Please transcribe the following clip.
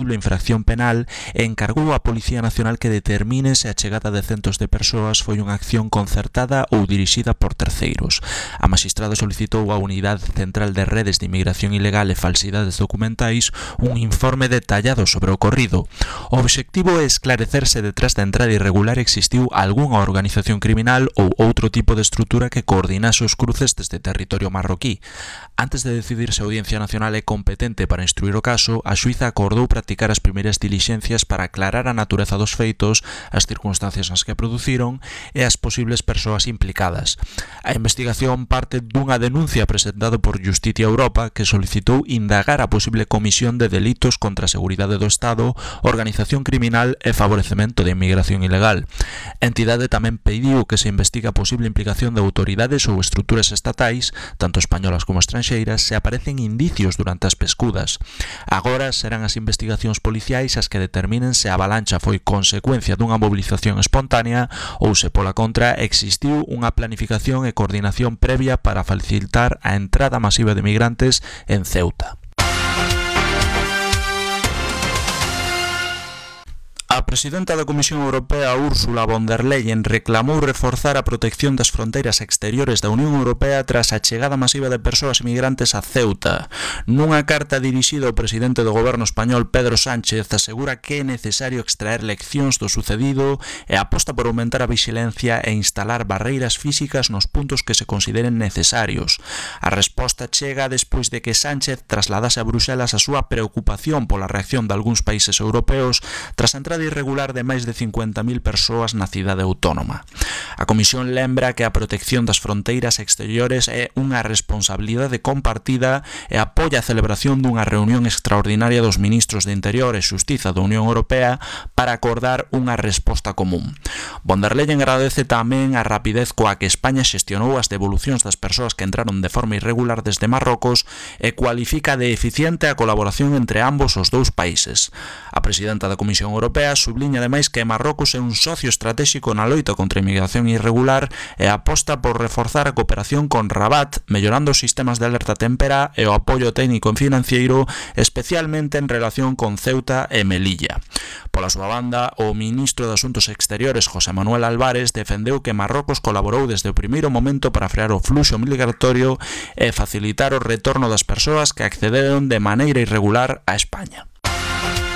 posible infracción penal e encargou á Policía Nacional que determine se a chegada de centos de persoas foi unha acción concertada ou dirixida por terceiros. A magistrada solicitou á Unidade Central de Redes de Inmigración Ilegal e Falsidades Documentais un informe detallado sobre o ocorrido. O obxectivo é esclarecer se detrás da entrada irregular existiu algunha organización criminal ou outro tipo de estrutura que coordinase os cruces desde territorio marroquí. Antes de decidir se a Audiencia Nacional é competente para instruir o caso, a xuíza acordou practicar as primeiras dilixencias para aclarar a natureza dos feitos, as circunstancias nas que produciron e as posibles persoas implicadas. A investigación parte dunha denuncia presentada por Justicia Europa que solicitou indagar a posible comisión de delitos contra a seguridade do Estado, organización criminal e favorecemento de inmigración ilegal. A entidade tamén pediu que se investigue a posible implicación de autoridades ou estruturas estatais, tanto españolas como estranxeiras, se aparecen indicios durante as pescudas. Agora serán as investigacións policiais as que determinen se a avalancha foi consecuencia dunha movilización espontánea ou se pola contra existiu unha planificación e coordinación previa para facilitar a entrada masiva de migrantes en Ceuta. A presidenta da Comisión Europea, Ursula von der Leyen, reclamou reforzar a protección das fronteiras exteriores da Unión Europea tras a chegada masiva de persoas migrantes a Ceuta. Nunha carta dirixida ao presidente do goberno español, Pedro Sánchez, asegura que é necesario extraer leccións do sucedido e aposta por aumentar a vixilancia e instalar barreiras físicas nos puntos que se consideren necesarios. A resposta chega despois de que Sánchez trasladase a Bruxelas a súa preocupación pola reacción de algúns países europeos tras a entrada irregular de máis de 50.000 persoas na cidade autónoma. A Comisión lembra que a protección das fronteiras exteriores é unha responsabilidade compartida e apoia a celebración dunha reunión extraordinaria dos ministros de Interior e Xustiza da Unión Europea para acordar unha resposta común. Von der Leyen agradece tamén a rapidez coa que España xestionou as devolucións das persoas que entraron de forma irregular desde Marrocos e cualifica de eficiente a colaboración entre ambos os dous países. A presidenta da Comisión Europea subliña ademais que Marrocos é un socio estratégico na loita contra a inmigración irregular e aposta por reforzar a cooperación con Rabat, mellorando os sistemas de alerta témpera e o apoio técnico e financeiro, especialmente en relación con Ceuta e Melilla. Pola súa banda, o ministro de Asuntos Exteriores, José Manuel Álvarez, defendeu que Marrocos colaborou desde o primeiro momento para frear o fluxo migratorio e facilitar o retorno das persoas que accederon de maneira irregular a España.